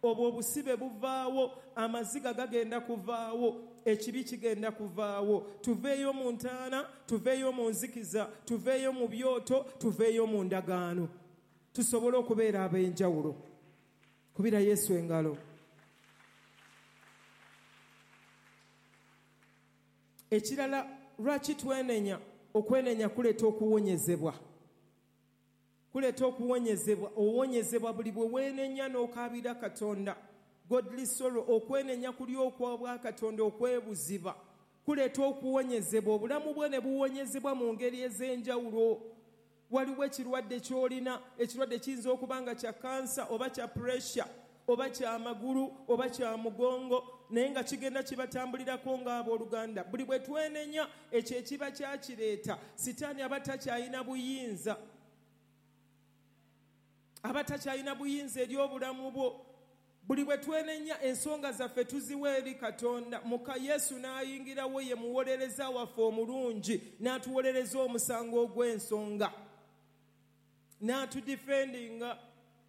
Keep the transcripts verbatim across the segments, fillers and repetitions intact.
Obwo obusibe buvaawo, amaziga gagenda kuvaawo, ekibi kigenda kuvaawo. Tuveeyo mu ntaana, tuveeyo mu nzikiza, tuveeyo mu byoto, tuveeyo mu ndagaano, tusobole okubeera ab'enjawulo. Kubira Yesu engalo. Ekirala, lwaki twenenya? Okwenenya kuleeta okuwonyezebwa, kuleeta okuwonyezebwa. Owonyezebwa buli bwe weenenya n'okaabira Katonda. Godly sorrow, okwenenya kuli okw'obwakatonda, okwebuziba kuleeta okuwonyezebwa. Obulamu bwe ne buwonyezebwa mu ngeri ez'enjawulo. Waliwo ekirwadde ky'olina, ekirwadde kiyinza okuba nga kya kansa oba kya pressure oba kya magulu oba kya mugongo, naye nga kigenda kibatambulirako ng'abooluganda. Buli bwe twenenya, ekyo ekiba kyakireeta, Sitaani aba takyalina buyinza, aba takyalina buyinza eri obulamu bwo. Buli bwe twenenya, ensonga zaffe tuziwa eri Katonda. Muka Yesu n'ayingirawo, ye muwolereza waffe omulungi, n'atuwolereza omusango ogw'ensonga, n'atudifendinga,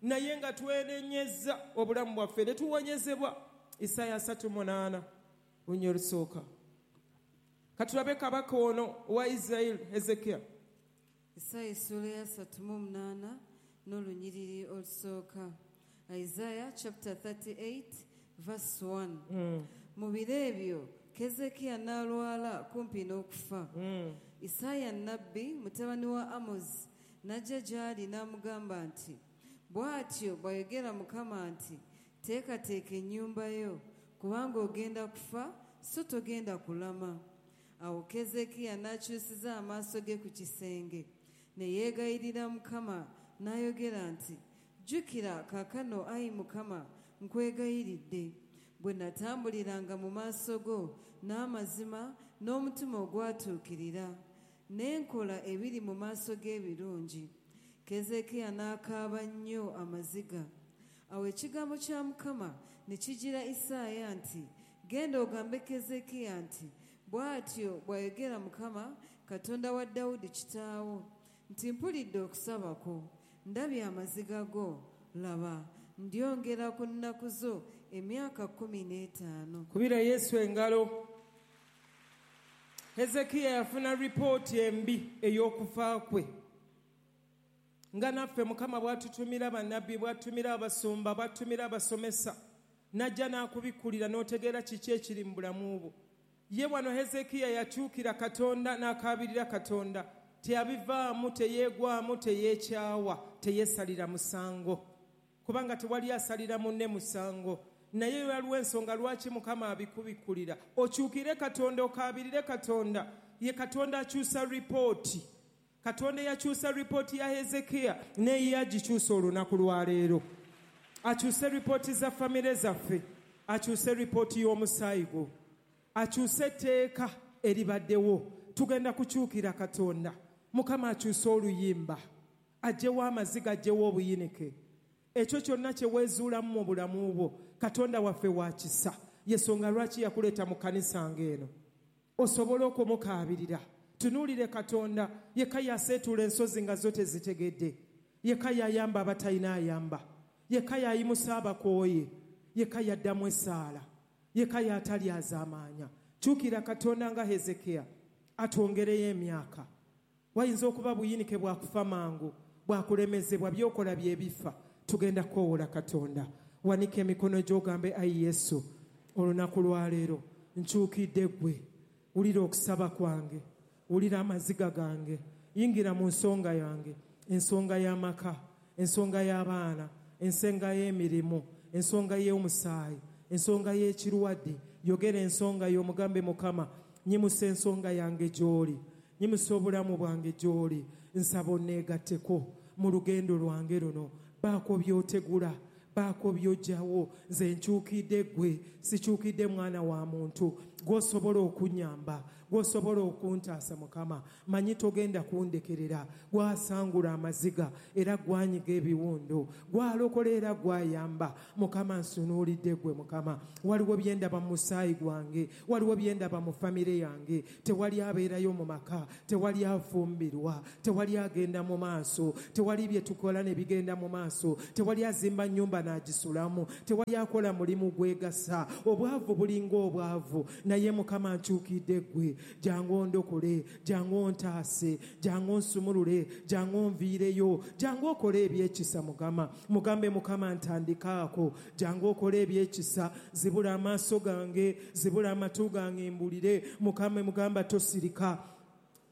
naye nga twenenyezza obulamu bwaffe ne tuwonyezebwa. Isaaya asatu munaana lunya olusooka. Katulabe kabaka ono owa Isirayiri, Hezekiya. Isaaya essuula ya asatu mu munaana n'olunyiriri olusooka. Isaiah chapter thirty-eight verse one. Mm. Mu biro ebyo Kezekiya n'alwala kumpi n'okufa. Mm. Isaaya nnabbi mutabani wa Amozi n'ajja gy'ali n'amugamba nti, bw'atyo bw'ayogera Mukama nti, teekateeka ennyumba yo, kubanga ogenda kufa so togenda kulama. Awo Kezekiya n'akyusiza amaaso ge ku kisenge ne yeegayirira Mukama n'ayogera nti, jjukira kaakano ayi Mukama, nkwegayiridde, bwe natambuliranga mu maaso go n'amazima n'omutima ogwatuukirira, ne nkola ebiri mu maaso g'ebirungi. Kezekiya n'akaaba nnyo amaziga. Awo ekigambo kya Mukama ne kijira Isaaya nti, genda ogambe Kezekiya nti, bw'atyo bw'ayogera Mukama Katonda wa Dawudi kitaawo nti, mpulidde okusaba kwo, ndabye amaziga go, laba ndyongera ku nnaku zo emyaka kkumi n'etaano. Kubira Yesu engalo. Hezekiya yafuna ripooti embi ey'okufa kwe. Nga naffe Mukama bw'atutumira bannabbi, bw'atumira abasumba, bw'atumira abasomesa, n'ajja n'akubikkulira n'otegeera kiki ekiri mu bulamu bwo. Ye wano Hezekiya yakyukira Katonda n'akaabirira Katonda. Teyabivaamu, teyeegwamu, teyeekyawa, teyeesalira musango, kubanga tewali asalira munne musango. Naye waliwo ensonga lwaki Mukama abikubikkulira. Okyukire Katonda, okaabirire Katonda. Ye Katonda akyusa ripooti. Katonda yakyusa ripooti ya Hezekiya naye yagikyusa olunaku lwa leero. Akyuse ripooti za famire zaffe, akyuse ripooti y'omusaayi gwo, akyuse etteeka eribaddewo. Tugenda kukyukira Katonda. Mukama akyuse oluyimba, aggyewo amaziga, aggyewo obuyinike. Ekyo kyonna kye weezuulamu mu bulamu bwo, Katonda waffe wa kisa. Yesonga lwaki yakuleeta mu kkanisa ng'eno, osobole okumukaabirira. Tunuulire Katonda. Yekka yaseetuula ensozi nga zo tezitegedde. Yekka yayamba abatalina ayamba. Yekka yayimusa abakooye. Yekka yaddamu essaala. Yekka yatalyazaamaanya. Kyukira Katonda nga Hezekiya, atwongereyo emyaka. Wayinza okuba buyinike bwakufa mangu, bwakulemezebwa, by'okola bye bifa. Tugenda kukoowola Katonda. Wanika emikono gy'ogambe, ayi Yesu, olunaku lwa leero nkyukidde ggwe. Wulira okusaba kwange, wulira amaziga gange, yingira mu nsonga yange, ensonga y'amaka, ensonga y'abaana, ensonga y'emirimu, ensonga y'omusaayi, ensonga y'ekirwadde. Yogera ensonga y'omugambe Mukama, nyimusa ensonga yange gy'oli, nyimusa obulamu bwange gy'oli, nsaba onneegatteko mu lugendo lwange luno. Baako by'otegula, baako by'oggyawo. Nze nkyukidde ggwe, sikyukidde mwana wa muntu. Gw'osobola okunnyamba, gw'osobola okuntaasa Mukama. Manyi togenda kundekerera. Gwasangula amaziga era gwanyiga ebiwundu, gwalokola era gwayamba. Mukama nsunuulidde ggwe Mukama. Waliwo bye ndaba mu musaayi gwange, waliwo bye ndaba mu famire yange. Tewali abeerayo mu maka, tewali afumbirwa, tewali agenda mu maaso, tewali bye tukola ne bigenda mu maaso, tewali azimba nnyumba ennyumba n'agisulamu. Tewali akola mulimu gwegasa. Obwavu bulinga obwavu, naye Mukama nkyukidde ggwe. Jangu ondokole, jangu ontaase, jangu onsumulule, jangu onviireyo, jangu okole ebyekisa Mukama. Mugambe Mukama ntandikaako, jangu okole ebyekisa, zibula amaaso gange, zibula amatu gange mbulire. Mukama mugamba tosirika,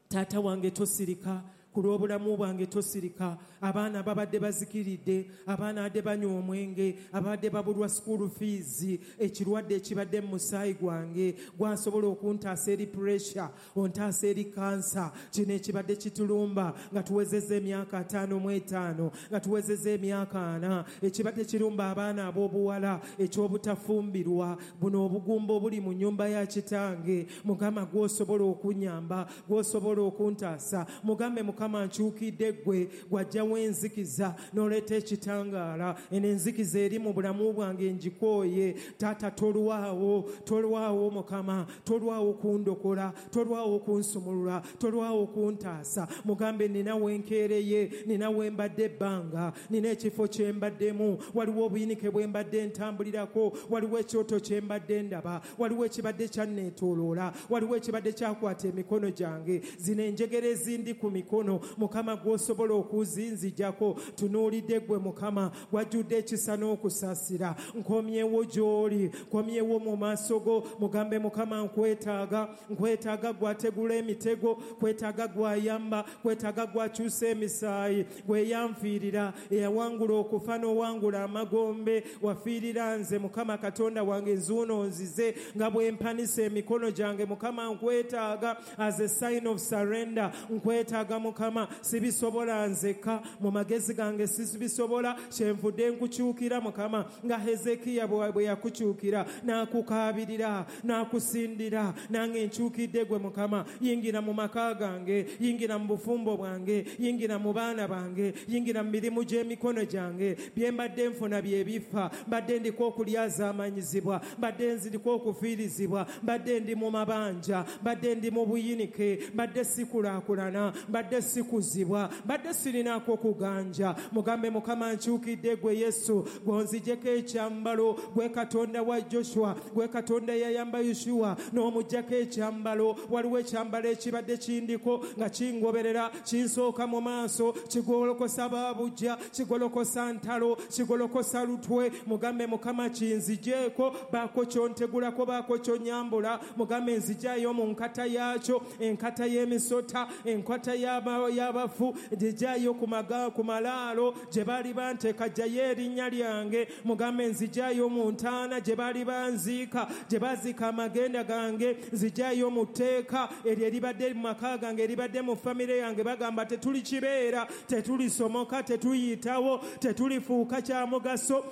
taata wange tosirika, ku lw'obulamu bwange tosirika. Abaana babadde bazikiridde, abaana badde banywa omwenge, abadde babulwa school fees, ekirwadde ekibadde mu musaayi gwange gwasobola okuntaasa eri pressure, ontaasa eri kansa. Kino ekibadde kitulumba nga tuwezezza emyaka ataano mu etaano, nga tuwezezza emyaka ana, ekibadde kirumba abaana ab'obuwala eky'obutafumbirwa, buno obugumba obuli mu nnyumba ya kitange. Mukama gw'osobola okunyamba, gw'osobola okuntaasa. Mugambe Mukama nkyukidde ggwe, gwajjawo enzikiza n'oleeta ekitangaala. Eno enzikiza eri mu bulamu bwange ngikooye. Taata tolwawo, tolwawo Mukama, tolwawo kundokola, tolwawo kunsumulula, tolwawo kuntaasa. Mugambe nina wenkeereye, nina wembadde ebbanga, nina ekifo kye mbaddemu, waliwo obuyinike bwe mbadde ntambulirako, waliwo ekyoto kye mbadde ndaba, waliwo ekibadde kyanneetooloola, waliwo ekibadde kyakwata emikono gyange, zino enjegere ezindi ku mikono. Mukama gw'osobola okuzinzijako, tunuulidde ggwe Mukama, gwajjudde ekisa n'okusaasira. Nkomyewo gy'oli, nkomyewo mu maaso go. Mugambe Mukama nkwetaaga, nkwetaaga gwategula emitego, kwetaaga gwayamba, kwetaaga gwakyusa emisaayi, gwe yanfiirira, eyawangula okufa n'owangula amagombe. Wafiirira nze Mukama Katonda wange, nzuuno nzize nga bwe mpanisa emikono gyange. Mukama nkwetaaga as a sign of surrender, nkwetaaga Mukama, sibisobola nzeka, mu magezi gange sibisobola, kyenvudde nkukyukira Mukama, nga Hezekiya bwe yakukyukira n'akukaabirira n'akusindira, nange nkyukidde gwe Mukama. Yingira mu maka gange, yingira mu bufumbo bwange, yingira mu baana bange, yingira mu mirimu gy'emikono gyange. Bye mbadde nfuna bye bifa, mbadde ndiko okulyazaamanyizibwa, mbadde nziriko okufiirizibwa, mbadde ndi mu mabanja, mbadde ndi mu buyinike, mbadde sikulaakulana, mbadde sikuzibwa, mbadde sirinaako kuganja. Mugambe Mukama nkyukidde gwe Yesu, gwonzijeko ekyambalo, gwe Katonda wa Joshua, gwe Katonda yayamba Yoshuwa n'omuggyako ekyambalo. Waliwo ekyambalo ekibadde kindiko nga kingoberera, kinsooka mu maaso, kigolokosa baabujja, kigolokosa ntalo, kigolokosa lutwe. Mugambe Mukama kinzigyeko, baako kyontegulako, baako kyonyambula. Mugambe nzigyayo mu nkata yaakyo, enkata y'emisota, enkata y'abafu, nzigyayo ku malaalo gye baali banteeka, ggyayo erinnya lyange. Mugambe nzigyayo mu ntaana gye baali banziika, gye baziika amagenda gange, nzigyayo mu tteeka eryo eribadde mu maka gange, eribadde mu famire yange. Bagamba tetulikibeera, tetulisomoka, tetuyitawo, tetulifuuka kya mugaso.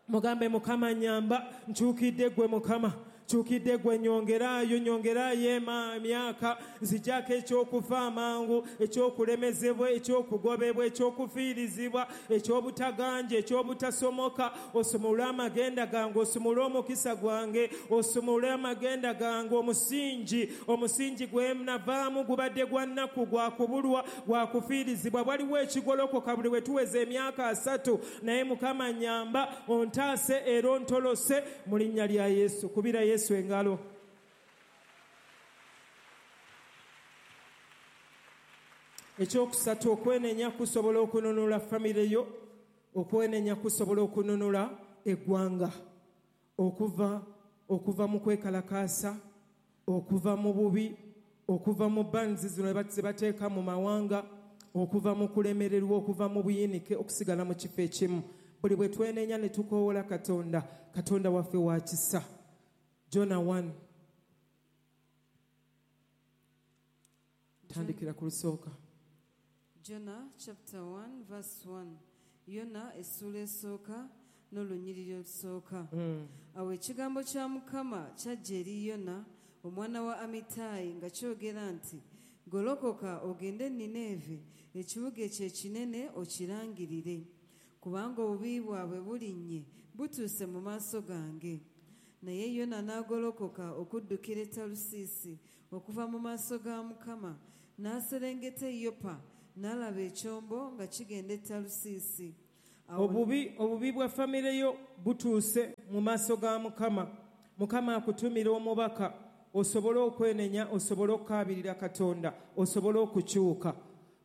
Mugambe Mukama nnyamba, nkyukidde ggwe Mukama, nkyukidde gwe, nyongeraayo, nyongeraayo emyaka, nzijjako ekyokufa amangu, ekyokulemezebwa, ekyokugobebwa, ekyokufiirizibwa, ekyobutaganja, ekyobutasomoka. Osumule amagenda gange, osumule omukisa gwange, osumule amagenda gange. Omusingi, omusingi gwe navaamu gubadde gwa nnaku, gwa kubulwa, gwa kufiirizibwa. Waliwo ekigolokoka buli we tuweza emyaka asatu, naye Mukama nnyamba, ontaase era ontolose mu linnya lya Yesu. Kubira Yesu engalo. Ekyokusatu, okwenenya kusobola okununula famire yo, okwenenya kusobola okununula eggwanga, okuva okuva mu kwekalakaasa, okuva mu bubi, okuva mu banzi zino ze bateeka mu mawanga, okuva mu kulemererwa, okuva mu buyinike, okusigala mu kifo ekimu. Buli bwe twenenya ne tukoowola Katonda, Katonda waffe wa kisa. Jonah one. Tandikira ku lusooka. Jonah chapter one verse one. Yona essuula esooka n'olunyiriri olusooka. Mm. Awo ekigambo kya Mukama kyajja eri Yona omwana wa Amittayi nga kyogera nti, golokoka ogende e Nineeve, ekibuga ekyo ekinene okirangirire, kubanga obubi bwabwe bulinnye butuuse mu maaso gange. Naye Yona n'agolokoka okuddukira e Talusiisi okuva mu maaso ga Mukama, n'aserengeta e Yopa, n'alaba ekyombo nga kigenda e Talusiisi. Obubi obubi bwa famire yo butuuse mu maaso ga Mukama. Mukama akutumira omubaka osobole okwenenya, osobole okukaabirira Katonda, osobole okukyuka.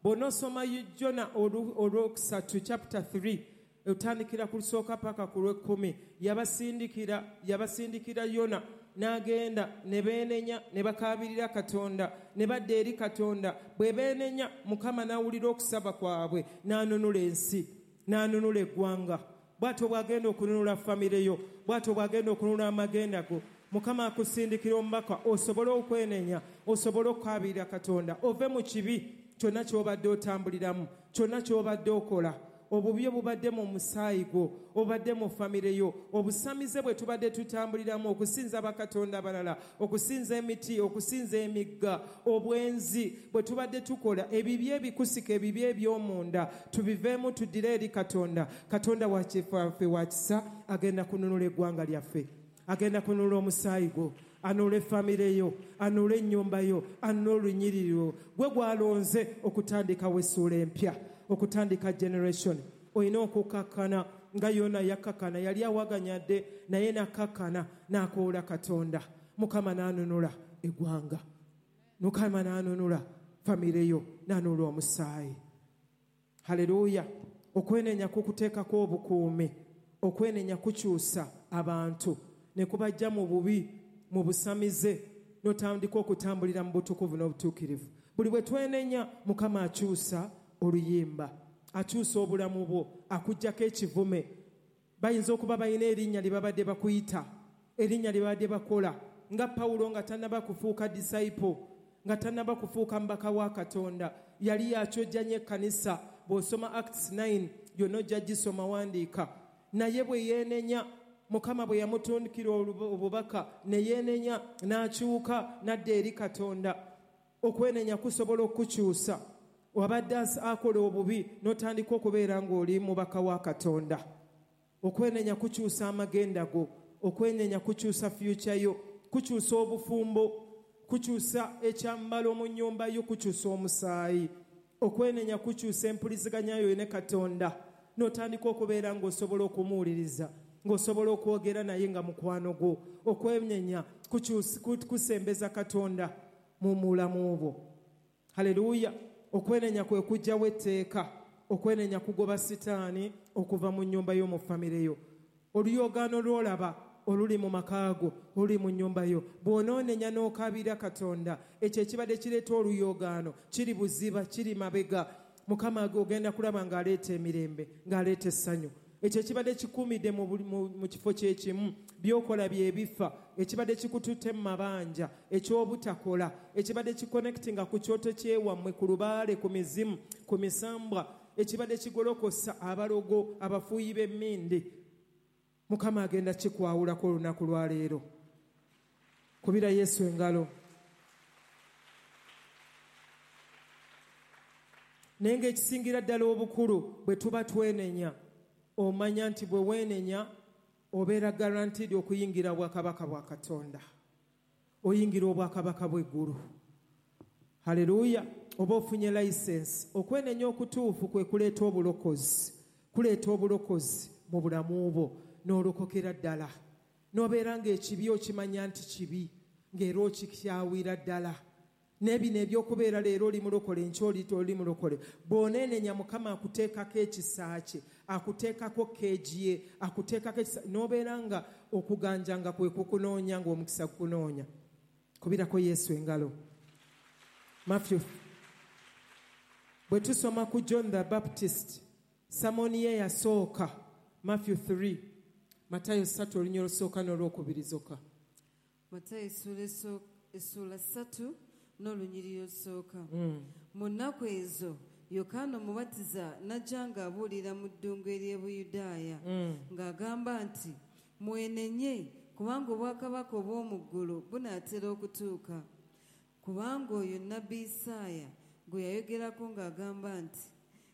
Bw'onoosoma Jona olwokusatu chapter three otandikira ku lusooka paka ku lw'ekkumi, yabasindikira yabasindikira Yona n'agenda ne beenenya ne bakaabirira Katonda ne badda eri Katonda. Bwe beenenya Mukama n'awulira okusaba kwabwe n'anunula ensi, n'anunula eggwanga. Bw'atyo bw'agenda okununula famire yo, bw'atyo bw'agenda okununula amagenda go. Mukama akusindikira omubaka osobole okwenenya, osobole okukaabirira Katonda, ove mu kibi kyonna ky'obadde otambuliramu, kyonna ky'obadde okola. Obubi obubadde mu musaayi gwo, obubadde mu famire yo, obusamize bwe tubadde tutambuliramu, okusinza bakatonda abalala, okusinza emiti, okusinza emigga, obwenzi bwe tubadde tukola, ebibi ebikusika, ebibi eby'omunda, tubiveemu tuddire eri Katonda. Katonda waffe wa kisa, agenda kununula eggwanga lyaffe, agenda kununula omusaayi gwo, anunule famire yo, anunule ennyumba yo, anunule olunyiriri lwo. Gwe gwalonze okutandikawo essuula empya, okutandika generation. Olina okukakkana nga Yona yakkakkana, yali awaganyadde naye n'akkakkana n'akoola Katonda. Mukama n'anunula eggwanga, Mukama n'anunula famire yo, n'anunula omusaayi. Haleluya. Okwenenya kukuteekako obukuumi, okwenenya kukyusa abantu ne kubajja mu bubi, mu busamize, n'otandika okutambulira mu butukuvu n'obutuukirivu. Buli bwe twenenya Mukama akyusa oluyimba, akyusa obulamu bwo, akuggyako ekivume. Bayinza okuba balina erinnya lye babadde bakuyita, erinnya lye babadde bakola, nga Pawulo nga tannaba kufuuka disciple, nga tannaba kufuuka mubaka wa Katonda, yali akyojja nnyo ekkanisa. Bw'osoma Acts nine yonna ojja gisoma, wandiika. Naye bwe yeenenya, Mukama bwe yamutundikira obubaka ne yeenenya n'akyuka n'adda eri Katonda. Okwenenya kusobola okukyusa. Wabadde akola obubi n'otandika okubeera ng'oli mubaka wa Katonda. Okwenenya kukyusa amagenda go, okwenenya kukyusa future yo, kukyusa obufumbo, kukyusa ekyambalo mu nnyumba yo, kukyusa omusaayi. Okwenenya kukyusa empuliziganya yo ne Katonda, n'otandika okubeera ng'osobola okumuwuliriza, ng'osobola okwogera naye nga mukwano gwo. Okwenenya kusembeza Katonda mu bulamu bwo. Haleluya. Okwenenya kwe kuggyawo etteeka, okwenenya kugoba sitaani okuva mu nnyumba yo, mu famire yo. Oluyogaano lw'olaba oluli mu maka go, oluli mu nnyumba yo, bw'onoonenya n'okaabira Katonda, ekyo ekibadde kireeta oluyogaano kiri buziba, kiri mabega. Mukama ogenda kulaba ng'aleeta emirembe, ng'aleeta essanyu. Ekyo ekibadde kikuumidde mu kifo kyekimu, by'okola bye bifa, ekibadde kikututte mu mabanja, eky'obutakola, ekibadde kiconnectinga ku kyoto kyewammwe, ku lubaale, ku mizimu, ku misambwa, ekibadde kigolokosa abalogo, abafuuyi b'emmindi. Mukama agenda kikwawulako olunaku lwa leero. Kubira Yesu engalo. Naye ng'ekisingira ddala obukulu, bwe tuba twenenya, omanya nti bwe weenenya obeera guaranteed okuyingira obwakabaka bwa Katonda, oyingira obwakabaka bw'eggulu. Haleluya. Oba ofunye license. Okwenenya okutuufu kwe kuleeta obulokozi, kuleeta obulokozi mu bulamu bwo, n'olokokera ddala, n'obeera ng'ekibi okimanya nti kibi, ng'era okikyawira ddala. N'ebino ebyokubeera leero oli mulokole, enkya oli oli mulokole, bw'oneenenya Mukama akuteekako ekisa kye, akuteekako keegi ye, akuteekako ekisa, n'obeera nga okuganja nga kwe kukunoonya, ng'omukisa gukunoonya. Kubirako Yesu engalo. Matthew, bwe tusoma ku John the Baptist, samoni ye yasooka, Matthew three, Matayo ssatu olunya olusooka n'olwokubiri zokka. Matayo essuula ssatu n'olunyiriri olusooka. Mu nnaku ezo Yokaana Omubatiza n'ajja ng'abuulira mu ddungu ery'e Buyudaaya, ng'agamba nti, mwenenye, kubanga obwakabaka obw'omu ggulu bunaatera okutuuka. Kubanga oyo nnabbi Isaaya gwe yayogerako ng'agamba nti,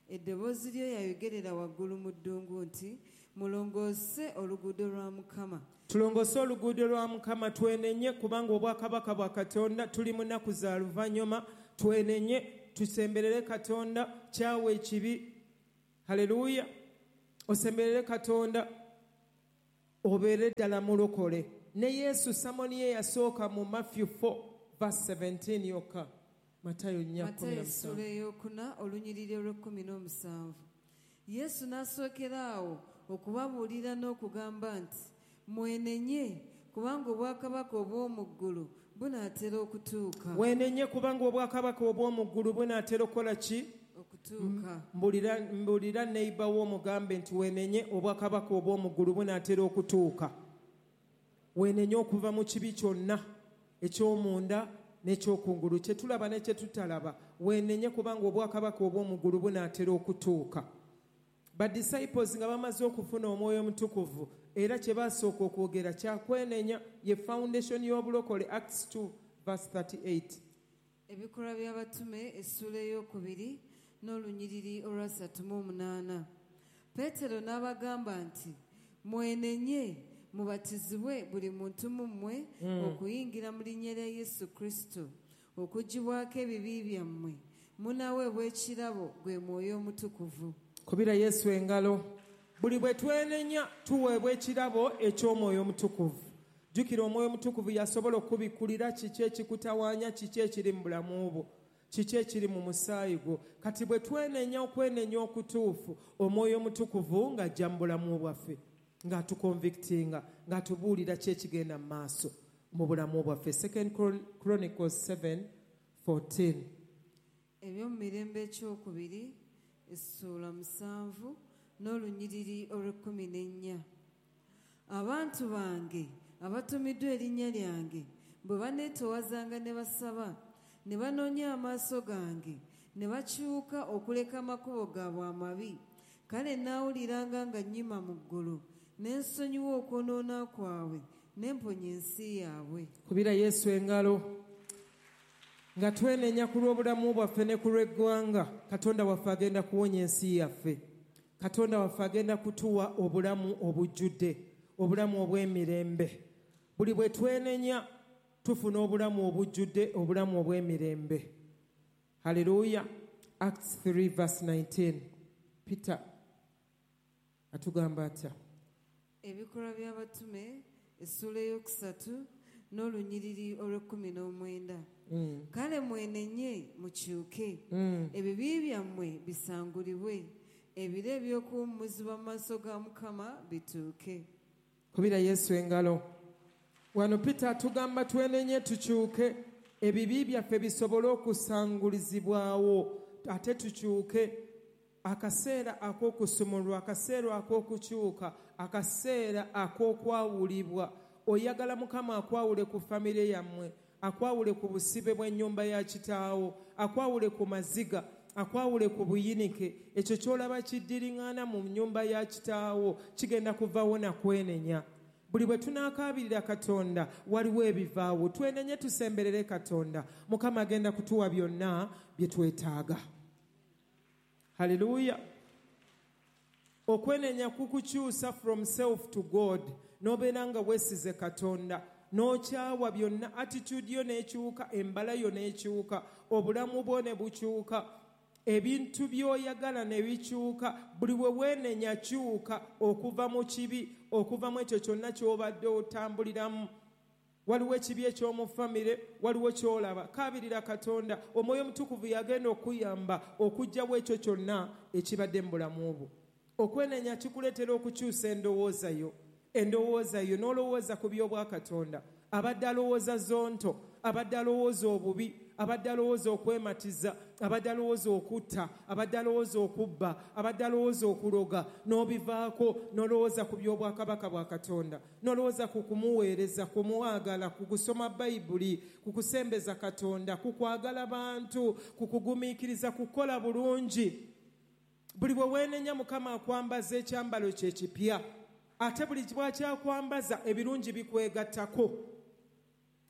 eddoboozi lyo yayogerera waggulu mu ddungu nti, mulongoose oluguudo lwa Mukama. Tulongoose oluguudo lwa Mukama, twenenye, kubanga obwakabaka bwa Katonda tuli mu nnaku za luvannyuma. Twenenye, tusemberere Katonda, kyawa ekibi. Haleluya. Osemberere Katonda obeere ddala mulokole. Ne Yesu sermon ye yasooka mu Matthew four verse seventeen yokka. Matayo nnya Matayo essuula ey'okuna olunyiriri olw'ekkumi n'omusanvu. Yesu n'asookera awo okubabuulira n'okugamba nti mwenenye kubanga obwakabaka obw'omu ggulu bunaatera okutuuka. Wenenye kubanga obwakabaka obw'omu ggulu bunaatera okukola ki? Okutuuka. Mbulira, mbulira neighbor wo mugambe nti wenenye obwakabaka obw'omu ggulu bunaatera okutuuka. Wenenye okuva mu kibi kyonna eky'omunda n'ekyokungulu, kye tulaba ne kye tutalaba. Wenenye kubanga obwakabaka obw'omu ggulu bunaatera okutuuka. Ba disciples nga bamaze okufuna omwoyo omutukuvu, era kye basooka okwogera kyakwenenya, ye foundation y'obulokole. Acts two verse thirty-eight. Ebikolwa by'abatume essuula ey'okubiri n'olunyiriri olwasatu mu omunaana. Peetero n'abagamba nti mwenenye mubatizibwe buli muntu mu mmwe mm. okuyingira mu linnya lya Yesu Kristo okuggyibwako ebibi byammwe, munaaweebwa ekirabo gwe mwoyo omutukuvu. Kubira Yesu engalo. Buli bwe twenenya tuweebwa ekirabo eky'omwoyo omutukuvu. Jjukira omwoyo omutukuvu yasobola okubikkulira kiki ekikutawaanya, kiki ekiri mu bulamu bwo, kiki ekiri mu musaayi gwo. Kati bwe twenenya okwenenya okutuufu, omwoyo omutukuvu ng'ajja mu bulamu bwaffe, ng'atuconvictinga, ng'atubuulira ki ekigenda mu maaso mu bulamu bwaffe. Second Chronicles seven fourteen. Ebyomumirembe ekyokubiri essuula musanvu n'olunyiriri olw'ekkumi n'ennya. Abantu bange abatumiddwa erinnya lyange bwe baneetowazanga ne basaba ne banoonya amaaso gange ne bakyuka okuleka amakubo gaabwe amabi, kale naawuliranga nga nnyima mu ggulu ne nsonyiwa okwonoona kwabwe ne mponya ensi yaabwe. Kubira Yesu engalo. Nga twenenya ku lw'obulamu bwaffe ne ku lw'eggwanga, Katonda waffe agenda kuwonya ensi yaffe. Katonda waffe agenda kutuwa obulamu obujjudde, obulamu obw'emirembe. Buli bwe twenenya tufuna obulamu obujjudde, obulamu obw'emirembe. Hallelujah. Acts three verse nineteen. Peter atugamba atya? Ebikolwa by'abatume essuula ey'okusatu n'olunyiriri olw'ekkumi n'omwenda. Mm. Kale mwenenye mukyuke, mm. ebibi byammwe bisangulibwe, ebiro eby'okuwummuzibwa mu maaso ga Mukama bituuke. Kubira Yesu engalo. Wano Peter atugamba twenenye tukyuke, ebibi byaffe bisobole okusangulizibwawo, ate tukyuke. Akaseera ak'okusumulwa, akaseera ak'okukyuka, akaseera ak'okwawulibwa. Oyagala Mukama akwawule ku famire yammwe, akwawule ku busibe bw'ennyumba ya kitaawo, akwawule ku maziga, akwawule ku buyinike. Ekyo ky'olaba kiddiriŋŋana mu nnyumba ya kitaawo kigenda kuvaawo na kwenenya. Buli bwe tunaakaabirira Katonda waliwo ebivaawo. Twenenye tusemberere Katonda, Mukama agenda kutuwa byonna bye twetaaga. Hallelujah. Okwenenya kukukyusa from self to God. N'obeera nga weesize Katonda, n'okyawa byonna, attitude yo n'ekyuka, embala yo n'ekyuka, obulamu bwo ne bukyuka, ebintu by'oyagala ne bikyuka. Buli bwe weenenya kyuka okuva mu kibi, okuva mu ekyo kyonna ky'obadde otambuliramu. Waliwo ekibi eky'omu famire, waliwo ky'olaba. Kaabirira Katonda, omwoyo omutukuvu yagenda okuyamba okuggyawo ekyo kyonna ekibadde mu bulamu bwo. Okwenenya kikuleetera okukyusa endowooza yo, endowooza yo n'olowooza ku by'obwakatonda. Abadde alowooza zonto, abadde alowooza obubi, abadde alowooza okwematiza, abadde alowooza okutta, abadde alowooza okubba, abadde alowooza okuloga, n'obivaako n'olowooza ku by'obwakabaka bwa Katonda, n'olowooza ku kumuweereza, ku muwagala, ku kusoma Bayibuli, ku kusembeza Katonda, ku kwagala bantu, ku kugumiikiriza, kukola bulungi. Buli bwe weenenya Mukama akwambaza ekyambalo kye kipya, ate buli bw'akyakwambaza ebirungi bikwegattako.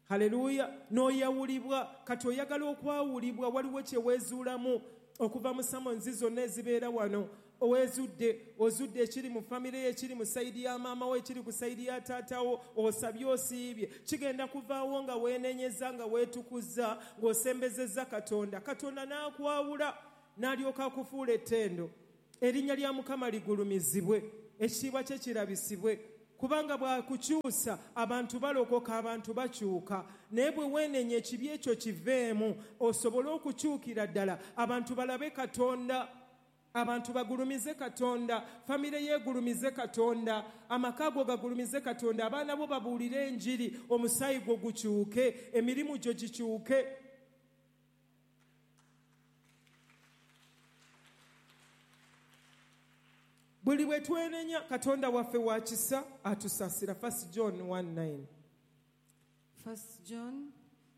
Haleluya. N'oyawulibwa. Kati oyagala okwawulibwa, waliwo kye weezuulamu okuva mu summons zonna ezibeera wano. Oweezudde, ozudde ekiri mu famire ye, ekiri mu side ya maama wo, ekiri ku side ya taata wo, osabye osiibye, kigenda kuvaawo nga weenenyeza, nga weetukuza, ng'osembezezza Katonda. Katonda n'akwawula, n'alyoka akufuula ettendo. Erinnya lya Mukama ligulumizibwe, ekitiibwa kye kirabisibwe. Kubanga bw'akukyusa abantu balokoka, abantu bakyuka. Naye bwe weenenya ekibi ekyo kiveemu, osobole okukyukira ddala, abantu balabe Katonda, abantu bagulumize Katonda, famire yeegulumize Katonda, amaka go gagulumize Katonda, abaana bo babuulire enjiri, omusaayi gwo gukyuke, emirimu gyo gikyuke. Buli bwe twenenya Katonda waffe wa kisa atusaasira. First John one nine. First John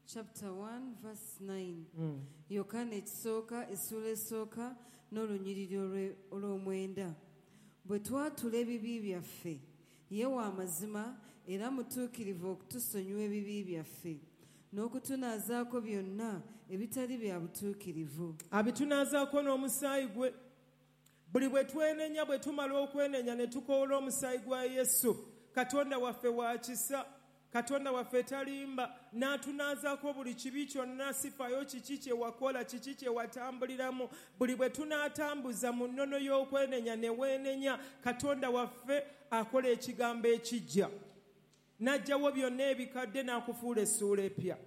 chapter one verse nine. Mm. Yokaana ekisooka essuula esooka n'olunyiriri olw'omwenda. Bwe twatula ebibi byaffe, ye wa mazima era mutuukirivu okutusonyiwa ebibi byaffe n'okutunaazaako byonna ebitali bya butuukirivu. Abitunaazaako n'omusaayi gwe. Buli bwe twenenya, bwe tumala okwenenya ne tukoola omusaayi gwa Yesu, Katonda waffe wa kisa, Katonda waffe talimba, n'atunaazaako buli kibi kyonna, sifaayo kiki kye wakola, kiki kye watambuliramu. Buli bwe tunaatambuza mu nnono y'okwenenya ne weenenya, Katonda waffe akola ekigambo ekijja, n'aggyawo byonna ebikadde n'akufuula essuula epya.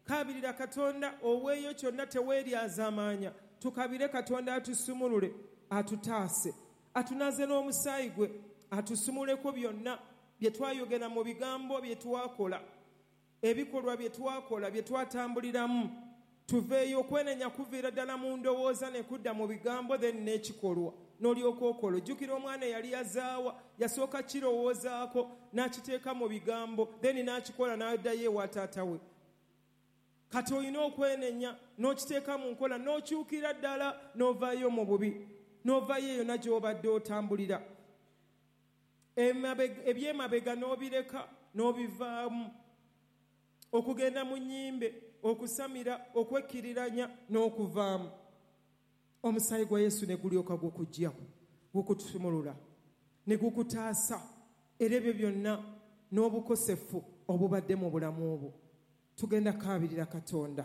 Kaabirira Katonda, oweeyo kyonna, teweeryazaamaanya. Tukabire Katonda atusumulule, atutaase, atunaaze n'omusaayi gwe, atusumuleko byonna bye twayogera mu bigambo bye twakola, ebikolwa bye twakola, bye twatambuliramu. Tuveeyo. Okwenenya kuviira ddala mu ndowooza ne kudda mu bigambo, then n'ekikolwa n'olyoka okola. Ojjukira omwana eyali yazaawa, yasooka kirowoozaako n'akiteeka mu bigambo, then n'akikola n'addayo ewa taata we. Kati olina okwenenya n'okiteeka mu nkola, n'okyukira ddala n'ovaayo mu bubi, n'ovaayo eyo na gy'obadde otambulira. Ebyemabega n'obireka n'obivaamu, okugenda mu nnyimbe, okusamira, okwekkiriranya n'okuvaamu. Omusaayi gwa Yesu ne gulyoka gukuggyako, gukutusumulula, ne gukutaasa era ebyo byonna n'obukosefu obubadde mu bulamu obwo. Tugenda kaabirira Katonda.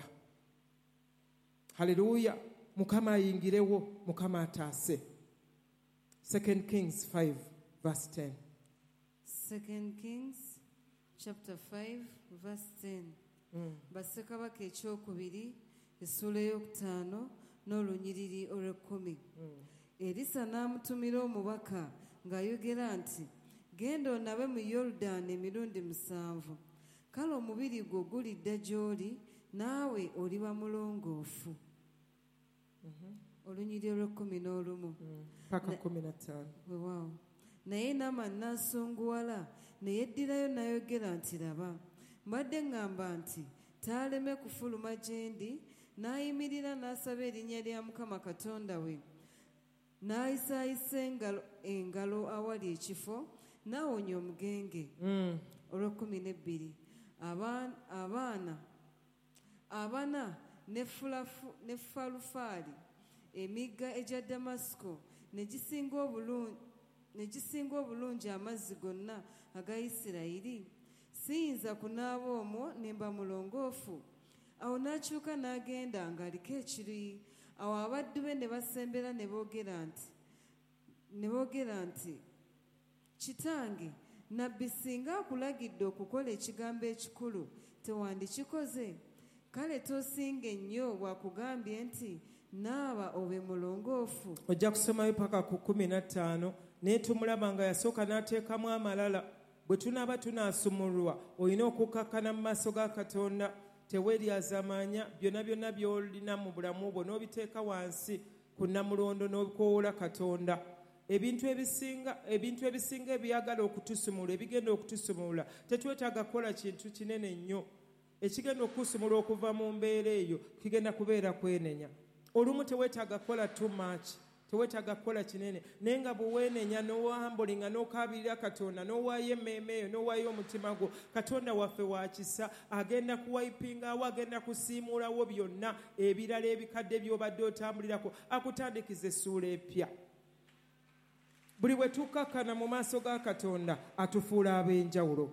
Haleluya. Mukama ayingirewo, Mukama ataase. Second Kings five verse ten. Second Kings chapter five verse ten. Mm. Bassekabaka ekyokubiri essuula ey'okutaano n'olunyiriri olw'ekkumi. Mm. Erisa n'amutumira omubaka ng'ayogera nti, genda onabe mu Yoludaani emirundi musanvu, kale omubiri gwo gulidda gy'oli, naawe oliba mulongoofu. Mm-hmm. Olunyiriri olw'ekkumi n'olumu. Mm. Paka kkumi na ttaano. Weewaawo. Naye Naamani n'asunguwala, ne yeddirayo n'ayogera nti, laba, mbadde ŋŋamba nti taaleme kufuluma gye ndi. N'ayimirira n'asaba erinnya lya Mukama Katonda we, n'ayisaayisa engalo, engalo awali ekifo, n'awonya omugenge. Mm. Olw'ekkumi n'ebbiri. Abaana abana ne Falufaali, emigga egya Damasiko, ne gisinga obulungi ne gisinga obulungi amazzi gonna aga Isirayiri. Siyinza kunaaba omwo ne mba mulongoofu. Awo n'akyuka n'agenda ng'aliko ekiruyi. Awo abaddu be ne basembera ne boogera nti ne boogera nti kitange, nabbi singa akulagidde okukola ekigambo ekikulu tewandikikoze? Kale tosinge nnyo bw'akugambye nti naaba obe mulongoofu. Ojja kusomayo paka ku kkumi na ttaano. Naye tumulaba nga yasooka n'ateekamu amalala. Bwe tunaaba tunaasumulwa, olina okukakkana mu maaso ga Katonda. Teweeryazaamaanya, byonna byonna by'olina mu bulamu bwo n'obiteeka wansi ku nnamulondo n'okwowola Katonda. Ebintu ebisinga ebintu ebisinga ebyagala okutusumula, ebigenda okutusumula, tetwetaaga kukola kintu kinene nnyo. Ekigenda okukusumula okuva mu mbeera eyo kigenda kubeera kwenenya. Olumu teweetaaga kukola too much, teweetaaga kukola kinene, naye nga bwe weenenya n'owambulinga n'okaabirira Katonda, n'owaayo emmeeme eyo, n'owaayo omutima gwo, Katonda waffe wa kisa, agenda kuwayipingawo, agenda kusiimuulawo byonna ebirala ebikadde by'obadde otambulirako, akutandikiza essuula epya. Buli bwe tukkakkana mu maaso ga Katonda, atufuula ab'enjawulo.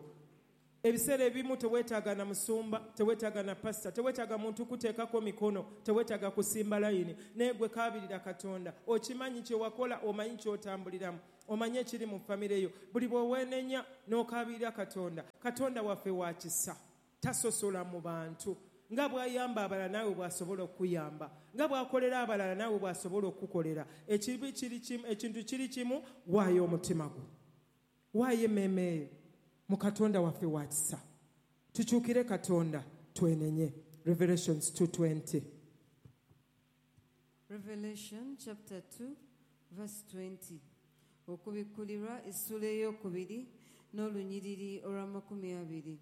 Ebiseera ebimu teweetaaga na musumba, teweetaaga na pasita, teweetaaga muntu kuteekako mikono, teweetaaga kusimba layini, naye gwe kaabirira Katonda. Okimanyi kye wakola, omanyi ky'otambuliramu, omanyi ekiri mu famire yo. Buli bw'oweenenya n'okaabirira Katonda, Katonda waffe wa kisa, tasosola mu bantu. Nga bw'ayamba abalala naawe bw'asobola okukuyamba, nga bw'akolera abalala naawe bw'asobola okukukolera. Ekibi kiri kimu, ekintu kiri kimu, waayo omutima gwo, waayo emmeeme eyo mu Katonda waffe wa kisa. Tukyukire Katonda twenenye. Revelations two twenty. Revelation chapter two verse twenty. Okubikkulirwa essuula ey'okubiri n'olunyiriri olw'amakumi abiri.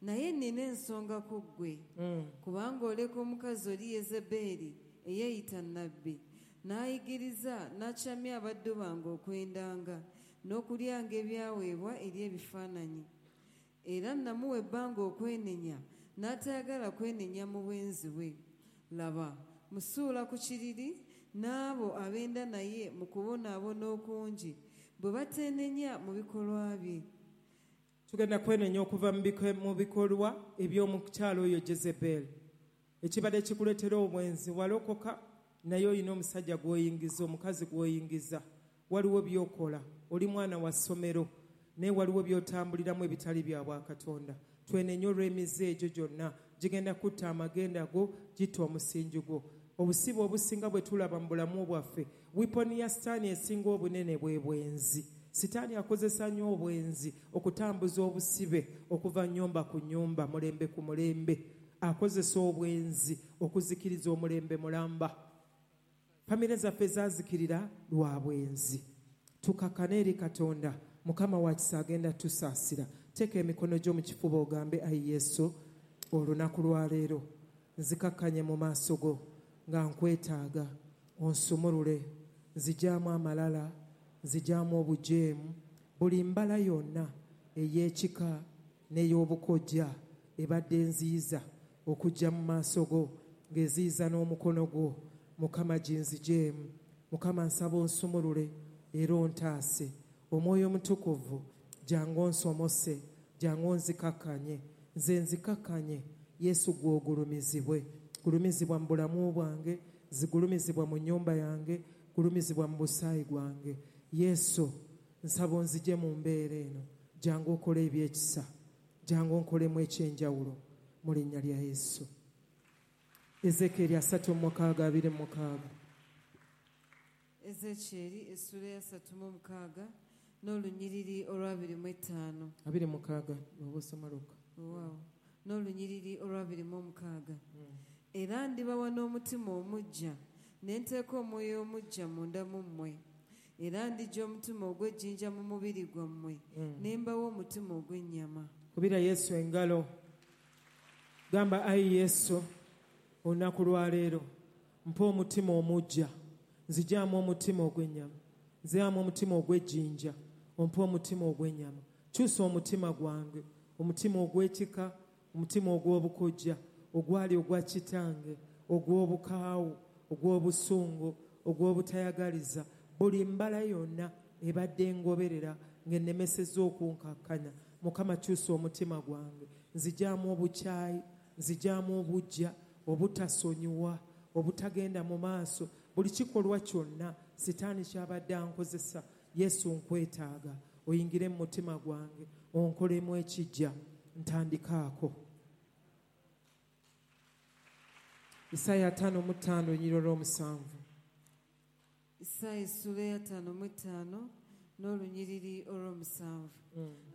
Naye nnina ensonga ku ggwe, kubanga oleka omukazi oli Yezeberi eyeeyita nnabbi, n'ayigiriza n'akyamya abaddu bange okwendanga n'okulyanga ebyaweebwa eri ebifaananyi. Era namuwa ebbanga okwenenya, n'atayagala kwenenya mu bwenzi bwe. Laba, musuula ku kiriri n'abo abenda naye mu kubonaabona okungi, bwe bateenenya mu bikolwa bye. Tugenda kwenenya okuva mu bikolwa eby'omukyalo oyo Jezebel. Ekibadde kikuleetera obwenzi, walokoka naye olina omusajja gw'oyingiza, omukazi gw'oyingiza. Waliwo by'okola, oli mwana wa ssomero, naye waliwo by'otambuliramu ebitali bya bwakatonda. Twenenye olw'emize egyo gyonna, gigenda kutta amagenda go, gitta omusingi gwo. Obusibe obusinga bwe tulaba mu bulamu bwaffe, weapon ya Sitaani esinga obunene bwe bwenzi. Sitaani akozesa nnyo obwenzi okutambuza obusibe okuva nnyumba ku nnyumba, mulembe ku mulembe. Akozesa obwenzi okuzikiriza omulembe mulamba. Famire zaffe zaazikirira lwa bwenzi. Tukakkane eri Katonda. Mukama wa kisa agenda tusaasira. Teeka emikono gyo mu kifuba ogambe, ayi Yesu, olunaku lwa leero nzikakkanye mu maaso go nga nkwetaaga, onsumulule, nzigyamu amalala, nzigyamu obujeemu, buli mbala yonna ey'ekika n'ey'obukojja ebadde nziyiza okujja mu maaso go, ng'eziyiza n'omukono gwo. Mukama ginzigyemu. Mukama nsaba onsumulule era ontaase. Omwoyo Omutukuvu jangu onsomose, jangu onzikakkanye, nze nzikakkanye. Yesu gw'ogulumizibwe. Gulumizibwa mu bulamu bwange, zigulumizibwa mu nnyumba yange, gulumizibwa mu busaayi gwange. Yesu nsaba onzigye mu mbeera eno, jangu okole ebyekisa, jangu onkolemu ekyenjawulo mu linnya lya Yesu. Ezekyeri asatu mu mukaaga abiri mu mukaaga. Ezekyeri essuula ya asatu mu mukaaga n'olunyiriri olw'abiri mu etaano. Abiri mu mukaaga oba osoma lwokka. Waawo. N'olunyiriri olw'abiri mu mukaaga. Era ndibawa n'omutima omuggya, ne nteeka omwoyo omuggya munda mu mmwe. Era ndiggya omutima ogw'ejjinja mu mubiri gwammwe, ne mbawa omutima ogw'ennyama. Kubira Yesu engalo. Gamba, ayi Yesu, olunaku lwa leero mpa omutima omuggya, nzigyamu omutima ogw'ennyama, nzigyamu omutima ogw'ejjinja, ompe omutima ogw'ennyama. Kyusa omutima gwange, omutima ogw'ekika, omutima ogw'obukojja, ogwali ogwa kitange, ogw'obukaawu, ogw'obusungu, ogw'obutayagaliza, buli mbala yonna ebadde engoberera ng'ennemesezza okunkakkanya. Mukama kyusa omutima gwange, nzigyamu obukyayi, nzigyamu obuggya, obutasonyiwa, obutagenda mu maaso, buli kikolwa kyonna Sitaani ky'abadde ankozesa. Yesu nkwetaaga, oyingire mu mutima gwange, onkolemu ekijja, ntandikaako. Isaaya ataano mu ttaano olunyiriri olw'omusanvu. Isaaya essuula ya ataano mu ttaano n'olunyiriri olw'omusanvu.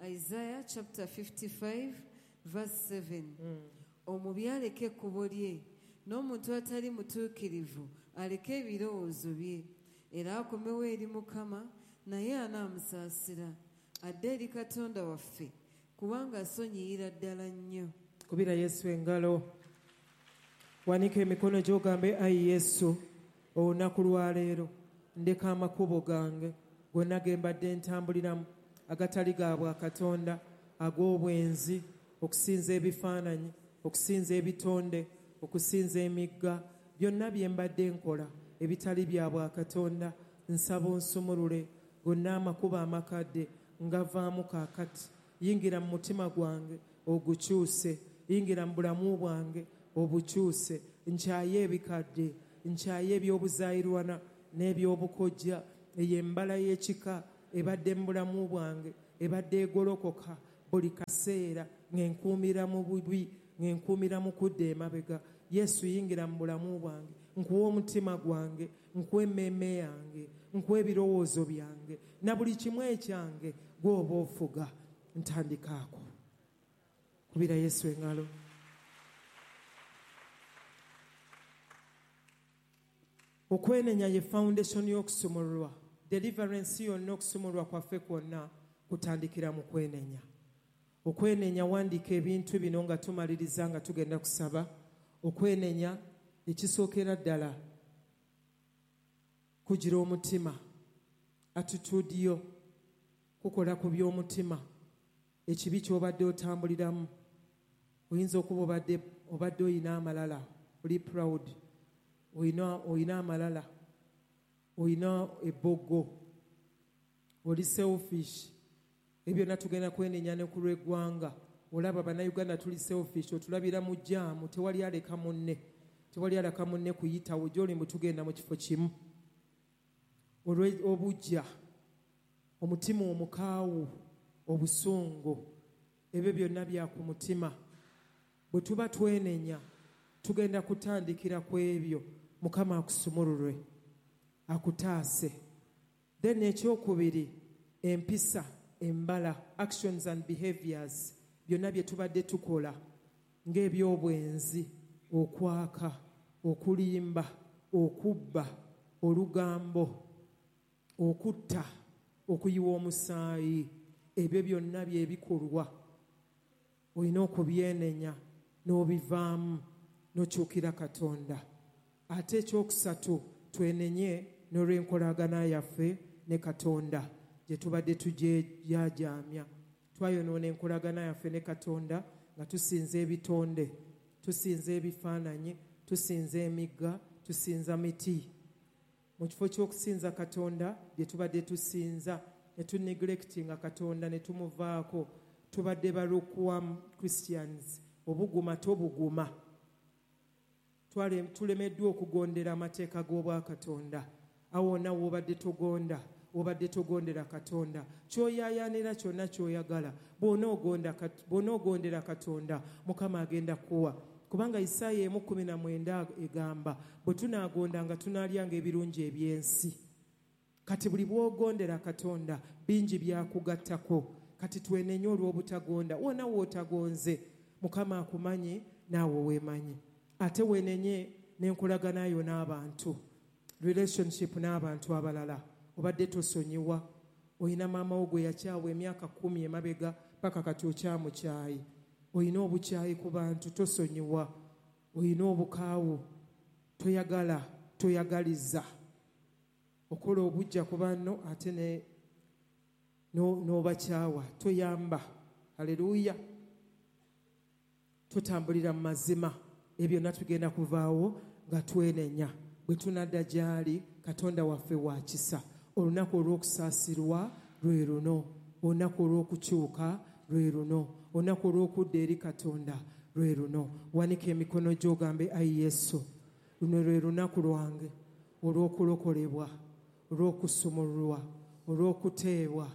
Isaiah chapter fifty-five verse seven. Omubi aleke ekkubo lye, n'omuntu atali mutuukirivu aleke ebirowoozo bye, era akomewo eri Mukama, naye anaamusaasira, adde eri Katonda waffe, kubanga asonyiyira ddala nnyo. Kubira Yesu engalo. Wanika emikono gy'ogambe, ayi Yesu, olunaku lwa leero ndeka amakubo gange gonna ge mbadde ntambuliramu agatali ga bwakatonda, ag'obwenzi, okusinza ebifaananyi, okusinza ebitonde, okusinza emigga, byonna bye mbadde nkola ebitali bya bwakatonda. Nsaba onsumulule gonna amakubo amakadde ngavaamu kaakati. Yingira mu mutima gwange ogukyuse, yingira mu bulamu bwange obukyuse. Nkyaye ebikadde, nkyaye ebyobuzaayirwana n'ebyobukojja. Eyo embala y'ekika ebadde mu bulamu bwange, ebadde egolokoka buli kaseera, ng'enkuumira mu bubi, ng'enkuumira mu kudda emabega. Yesu yingira mu bulamu bwange, nkuwa omutima gwange, nkuwa emmeeme yange, nkuwa ebirowoozo byange na buli kimu ekyange, gw'oba ofuga. Ntandikaako. Kubira Yesu engalo. Okwenenya ye foundation y'okusumululwa. Deliverance yonna, okusumululwa kwaffe kwonna kutandikira mu kwenenya. Okwenenya, wandiika ebintu bino nga tumaliriza nga tugenda kusaba. Okwenenya ekisookera ddala kugira omutima, attitude yo, kukola ku by'omutima. Ekibi ky'obadde otambuliramu, oyinza okuba obadde obadde oyina amalala, oli proud, oyina oyina amalala, oyina ebbogo, oli selfish. Ebyo byonna tugenda kwenenya ne ku lw'eggwanga. Olaba Bannayuganda tuli selfish, otulabira mu jjaamu, tewali aleka munne, tewali aleka munne kuyitawo gy'oli mbu tugenda mu kifo kimu. Olw'obuggya, omutima omukaawu, obusungu, ebyo byonna bya ku mutima. Bwe tuba twenenya tugenda kutandikira ku ebyo. Mukama akusumululwe, akutaase. Then ekyokubiri, empisa, embala, actions and behaviors, byonna bye tubadde tukola ng'ebyobwenzi, okwaka, okulimba, okubba, olugambo, okutta, okuyiwa omusaayi, ebyo byonna byebikolwa olina okubyenenya n'obivaamu n'okyukira Katonda. Ate ekyokusatu, twenenye n'olw'enkolagana yaffe ne Katonda gye tubadde tugyejaajamya. Twayonoona enkolagana yaffe ne Katonda nga tusinza ebitonde, tusinza ebifaananyi, tusinza emigga, tusinza miti. Mu kifo ky'okusinza Katonda bye tubadde tusinza, ne tuneglectinga Katonda ne tumuvaako. Tubadde ba lukewarm Christians, obuguma tobuguma. Tulemeddwa okugondera amateeka g'Obwakatonda. Awo wonna w'obadde togonda, obadde togondera Katonda. Ky'oyaayaanira kyonna ky'oyagala, bw'onoogondera Katonda, Mukama agenda kuwa. Kubanga Isaaya emu kkumi na mwenda egamba, bwe tunaagondanga tunaalyanga ebirungi eby'ensi. Kati buli bw'ogondera Katonda, bingi byakugattako. Kati twenenye olw'obutagonda. Wonna w'otagonze, Mukama akumanyi naawe weemanyi. Ate wenenye n'enkolagana yo n'abantu, relationship n'abantu abalala. Obadde tosonyiwa, oyina maama wo gwe yakyawa emyaka kkumi emabega paka kati okyamukyayi. Oyina obukyayi ku bantu, tosonyiwa. Oyina obukaawu, toyagala, toyagaliza. Okola obujja ku banno ate ne n'obakyawa, toyamba. Haleluya. Tutambulira mu mazima. Ebyo byonna tugenda kuvaawo nga twenenya. Bwe tunadda gy'ali, Katonda waffe wa kisa. Olunaku olw'okusaasirwa lwe luno, olunaku olw'okukyuka lwe luno, olunaku olw'okudda eri Katonda lwe luno. Wanika emikono gy'ogambe, ayi Yesu, luno lwe lunaku lwange olw'okulokolebwa, olw'okusumululwa, olw'okuteebwa,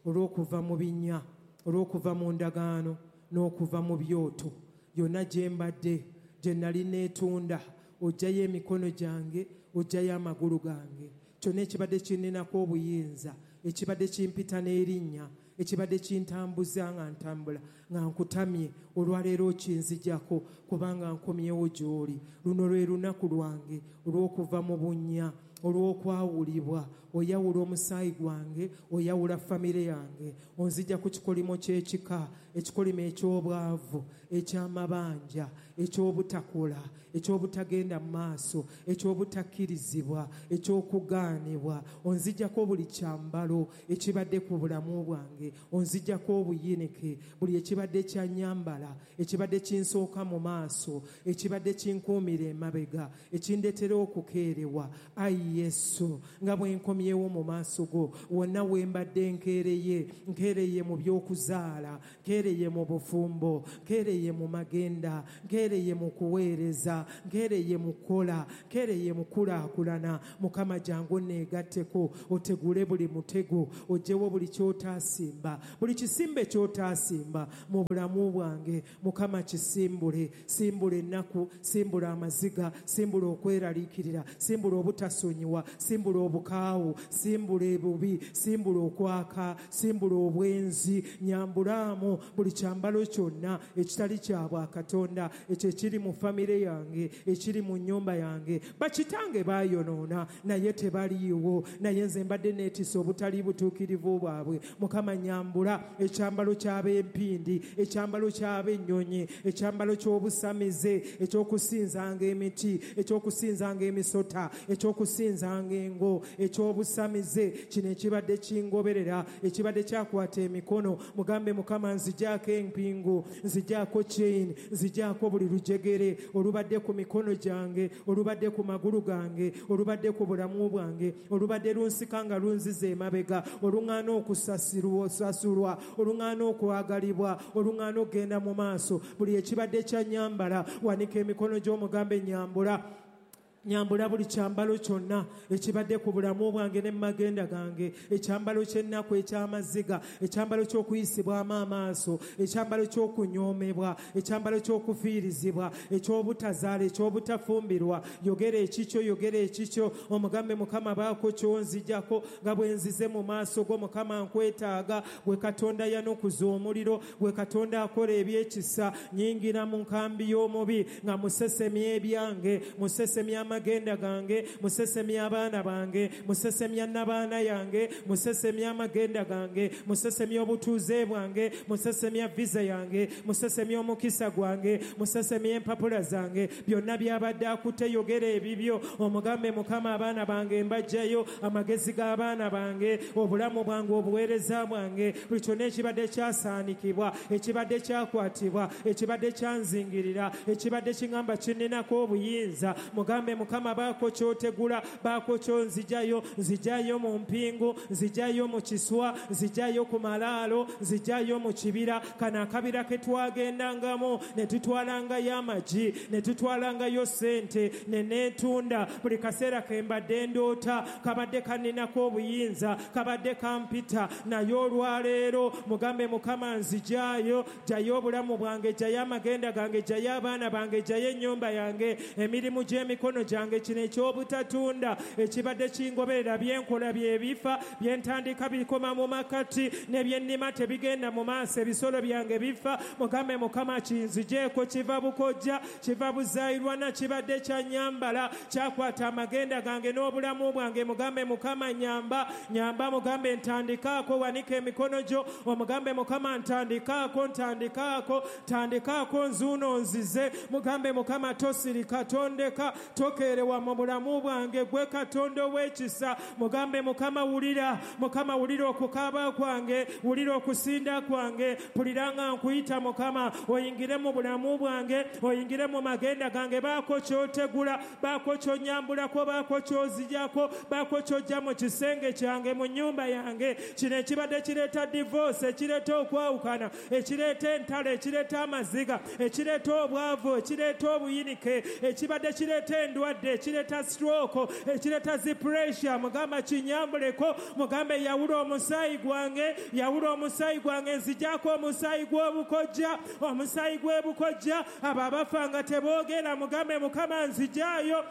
olw'okuva mu binnya, olw'okuva mu ndagaano n'okuva mu byoto. Yonna gye mbadde, gye nali neetunda, oggyayo emikono gyange, oggyayo amagulu gange. Kyonna ekibadde kinninako obuyinza, ekibadde kimpita n'erinnya, ekibadde kintambuza nga ntambula nga nkutamye, olwaleero okinzijjako kubanga nkomyewo gy'oli. Luno lwe lunaku lwange olw'okuva mu bunnya, olw'okwawulibwa. Oyawula omusaayi gwange, oyawula famire yange, onzijja ku kikolimo ky'ekika, ekikolimo eky'obwavu, eky'amabanja, eky'obutakola, eky'obutagenda mu maaso, eky'obutakkirizibwa, eky'okugaanibwa. Onzijjako buli kyambalo ekibadde ku bulamu bwange, onzijjako obuyinike, buli ekibadde kyannyambala, ekibadde kinsooka mu maaso, ekibadde kinkuumira emabega, ekindeetera okukeerewa. Ayi Yesu, nga bwe nkomyewo Nkomyewo mu maaso go. Wonna we mbadde nkeereye, nkeereye mu by'okuzaala, nkeereye mu bufumbo, nkeereye mu magenda, nkeereye mu kuweereza, nkeereye mu kukola, nkeereye mu kulaakulana. Mukama jangu neegatteko, otegule buli mutego, oggyewo buli ky'otaasimba, buli kisimbe ky'otaasimba mu bulamu bwange. Mukama kisimbule, simbula ennaku, simbula amaziga, simbula okweraliikirira, simbula obutasonyiwa, simbula obukaawu, simbula ebubi, simbula okwaka, simbula obwenzi. Nyambulaamu buli kyambalo kyonna ekitali kya bwakatonda, ekyo ekiri mu famire yange, ekiri mu nnyumba yange. Bakitange baayonoona naye tebaliiwo, naye nze mbadde neetisa obutali butuukirivu bwabwe. Mukama nyambula ekyambalo ky'ab'empindi, ekyambalo ky'ab'ennyonyi, ekyambalo ky'obusamize, ekyokusinzanga emiti, ekyokusinzanga emisota, ekyokusinzanga engo, ekyobusamize. Kino ekibadde kingoberera, ekibadde kyakwata emikono. Mugambe Mukama nzigyako empingu, nzigyako chain, nzigyako buli lujegere olubadde ku mikono gyange, olubadde ku magulu gange, olubadde ku bulamu bwange, olubadde lunsika nga lunziza emabega, oluŋŋaana okusasulwa, oluŋŋaana okwagalibwa, oluŋŋaana okugenda mu maaso. Buli ekibadde kyanyambala, wanika emikono gy'omugambe nyambula. Nyambula buli kyambalo kyonna ekibadde ku bulamu bwange ne magenda gange, ekyambalo ky'ennaku, eky'amaziga, ekyambalo ky'okuyisibwamu amaaso, ekyambalo ky'okunyoomebwa, ekyambalo ky'okufiirizibwa, eky'obutazaala, eky'obutafumbirwa. Yogera ekikyo, yogera ekikyo, omugambe Mukama baako ky'onzigyako nga bwe nzize mu maaso go. Mukama nkwetaaga, gwe Katonda yanukuza omuliro, gwe Katonda akola ebyekisa. Nyingira mu nkambi y'omubi nga musesemya ebyange, musesemya amagenda gange, musesemya abaana bange, musesemya n'abaana yange, musesemya amagenda gange, musesemya obutuuze bwange, musesemya visa yange, musesemya omukisa gwange, musesemya empapula zange. Byonna byabadde akutte, yogera ebibyo, omugambe Mukama abaana bange mbajjayo, amagezi g'abaana bange, obulamu bwange, obuweereza bwange, buli kyonna ekibadde kyasaanikibwa, ekibadde kyakwatibwa, ekibadde kyanzingirira, ekibadde kiŋŋamba kinninako obuyinza. Mugambe Mukama baako ky'otegula, baako ky'onziggyayo, nzigyayo mu mpingu, nzigyayo mu kiswa, nzigyayo ku malaalo, nzigyayo mu kibira. Kano akabira ke twagendangamu ne tutwalangayo amagi, ne tutwalangayo ssente, ne neetunda. Buli kaseera ke mbadde ndoota kabadde kanninako obuyinza, kabadde kampita, naye olwaleero mugambe Mukama nzigyayo, ggyayo obulamu bwange, ggyayo amagenda gange, ggyayo abaana bange, ggyayo ennyumba yange, emirimu gy'emikono gyange, kino ekyobutatunda ekibadde kingoberera. Byenkola byebifa, byentandika bikoma mu makati, ne byennima tebigenda mu maaso, ebisolo byange bifa. Mugambe Mukama kinzigyeko, kiva bukojja, kiva buzaayirwana, kibadde kyanyambala, kyakwata amagenda gange n'obulamu bwange. Mugambe Mukama nyamba, nyamba. Mugambe ntandikaako, wanika emikono gyo, omugambe Mukama ntandikaako, ntandikaako, ntandikaako, nzuuno nzize. Mugambe Mukama tosirika, tondeka, tokeerewa mu bulamu bwange, gwe Katonda ow'ekisa. Mugambe Mukama wulira, Mukama wulira okukaaba kwange, wulira okusinda kwange, mpulira nga nkuyita Mukama, oyingire mu bulamu bwange, oyingire mu magenda gange. Baako ky'otegula, baako ky'onyambulako, baako ky'ozigyako, baako ky'ojja mu kisenge kyange, mu nnyumba yange. Kino ekibadde kireeta divorce, ekireeta okwawukana, ekireeta entalo, ekireeta amaziga, ekireeta obwavu, ekireeta obuyinike, ekibadde kireeta endwadde, ekireeta stroke, ekireeta zi pressure. Mugamba kinyambuleko, mugambe yawula omusaayi gwange, yawula omusaayi gwange, nzigyako omusaayi gw'obukojja, omusaayi gw'ebukojja. Abo abafa nga teboogera, mugambe Mukama nzigyayo.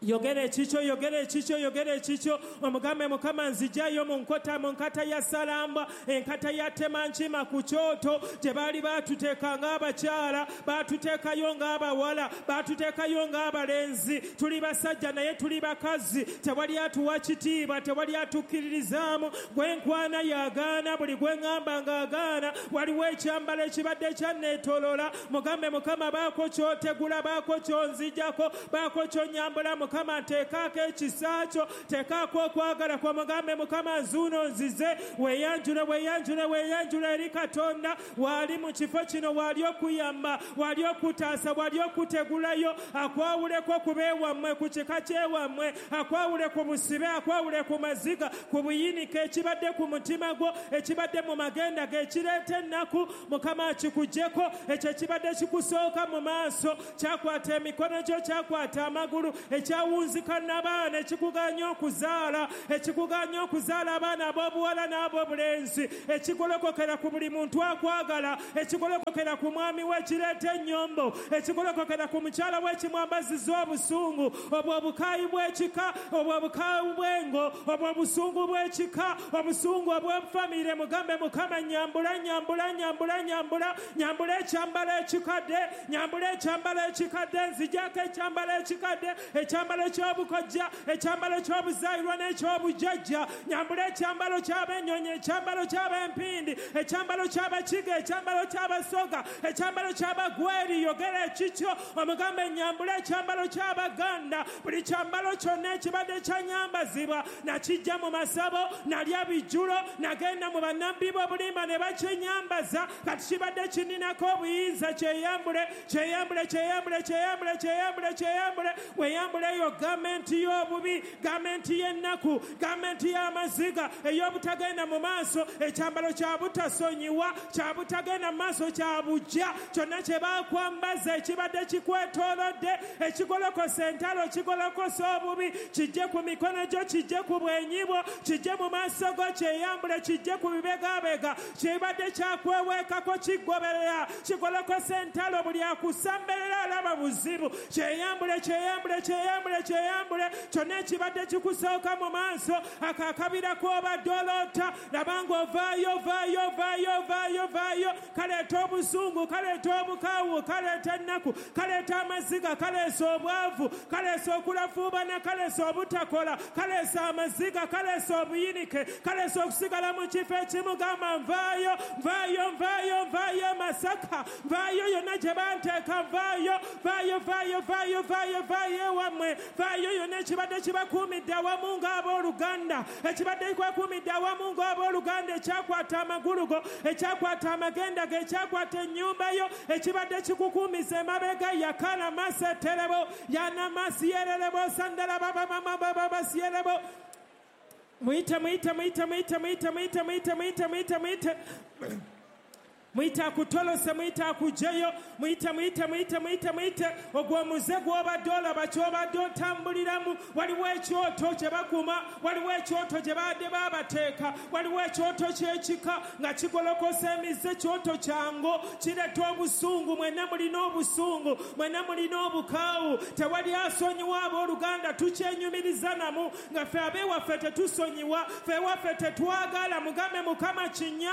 Yogera ekikyo, yogera ekikyo, yogera ekikyo, omugambe Mukama nzigyayo mu nkota, mu nkata ya salamba, enkata ya temankima ku kyoto gye baali baatuteeka ng'abakyala, baatuteekayo ng'abawala, baatuteekayo ng'abalenzi. Tuli basajja naye tuli bakazi, tewali atuwa kitiibwa, tewali atukkiririzaamu. Gwe nkwana yagaana, buli gwe ŋŋamba ng'agaana. Waliwo ekyambalo ekibadde kyanneetooloola. Mugambe Mukama baako ky'otegula, baako ky'onzigyako, baako ky'onyambula. Mukama teekaako ekisa kyo, teekaako okwagala kwo, mugambe Mukama nzuuno nzize. Weeyanjule, weeyanjule, weeyanjule eri Katonda. Waali mu kifo kino, waali okuyamba, waali okutaasa, waali okutegulayo, akwawuleko ku beewammwe, ku kika kyewammwe, akwawule ku busibe, akwawule ku maziga, ku buyinike ekibadde ku mutima gwo, ekibadde mu magenda ge, ekireeta ennaku, Mukama akikuggyeko. Ekyo ekibadde kikusooka mu maaso, kyakwata emikono gyo, kyakwata amagulu, ekyawunzika n'abaana, ekikuganya okuzaala, ekikuganya okuzaala abaana ab'obuwala n'ab'obulenzi, ekigolokokera ku buli muntu akwagala, ekigolokokera ku mwami we ekireeta ennyombo, ekigolokokera ku mukyala we ekimwambaziza obusungu, obwo obukaayi bw'ekika, obwo obukaayi bw'engo, obwo obusungu bw'ekika, obusungu obw'efamire. Mugambe Mukama nyambula, nyambula, nyambula, nyambula, nyambula ekyambalo ekikadde, nyambula ekyambalo ekikadde, nzijako ekyambalo ekikadde, ekyambalo ky'obukojja, ekyambalo ky'obuzaayirwa n'eky'obujjajja, nyambula ekyambalo ky'abennyonyi, ekyambalo ky'abempindi, ekyambalo ky'abakiga, ekyambalo ky'abasoga, ekyambalo ky'abagweri. Yogera ekikyo, omugambe nyambula ekyambalo ky'abaganda. Buli kyambalo kyonna ekibadde kyanyambazibwa nakijja mu masabo, nalya bijjulo, nagenda mu bannabbi b'obulimba ne bakinyambaza, kati kibadde kininako obuyinza. Kyeyambule, kyeyambule, kyeyambule, kyeyambule, kyeyambule, kyeyambule. Weeyambule eyo gavumenti y'obubi, gavumenti y'ennaku, gavumenti y'amaziga, ey'obutagenda mu maaso, ekyambalo kya butasonyiwa, kya butagenda mu maaso, kya bujja. Kyonna kye baakwambaza ekibadde kikwetoolodde, ekigolokosa entalo, kigolokosa obubi, kijje ku mikono gyo, kijje ku bwenyi bwo, kijje mu maaso go, kyeyambule, kijje ku bibegabega. Kibadde kyakweweekako, kigoberera, kigolokosa entalo, buli akusamberera alaba buzibu. Kyeyambule, kyeyambule, kyeyambule, kyeyambule. Kyonna ekibadde kikusooka mu maaso, ako akabira k'obadde oloota, laba ng'ovaayo, ovaayo, ovaayo, ovaayo, ovaayo. Kaleeta obusungu, kaleeta obukaawu, kaleeta ennaku, kaleeta amaziga, kaleesa obwavu, kaleesa okulafuubana, kaleesa obutakola, kaleesa amaziga, kaleesa obuyinike, kaleesa okusigala mu kifo ekimu. Gamba nvaayo, nvaayo, nvaayo, nvaayo Masaka, nvaayo yonna gye banteeka, nvaayo, vaayo, vaayo, vaayo, vaayo, vaayo ewammwe, vaayo yonna ekibadde kibakuumidde awamu ng'abooluganda, ekibadde kikwakuumidde awamu ng'abooluganda, ekyakwata amagulu go, ekyakwata amagenda go, ekyakwata ennyumba yo, ekibadde kikukuumiza emabega. Yakala maseterebo, yanamasiyererebo, sandala babamamababasiyerebo. Muyite, muyite, muyite, muyite, muyite, muyite, muyite, muyite, muyite, muyite. Muyite akutolose, muyite akugyeyo, muyite, muyite, muyite, muyite, muyite. Ogwo omuze gw'obadde olaba, ky'obadde otambuliramu, waliwo ekyoto kye bakuma, waliwo ekyoto gye baadde baabateeka, waliwo ekyoto ky'ekika nga kigolokosa emize, kyoto kyango kireeta obusungu. Mwenna mulina obusungu, mwenna mulina obukaawu, tewali asonyiwa. Abooluganda tukyenyumiriza namu nga ffe ab'ewaffe tetusonyiwa, ffe ewaffe tetwagala. Mugambe Mukama kinya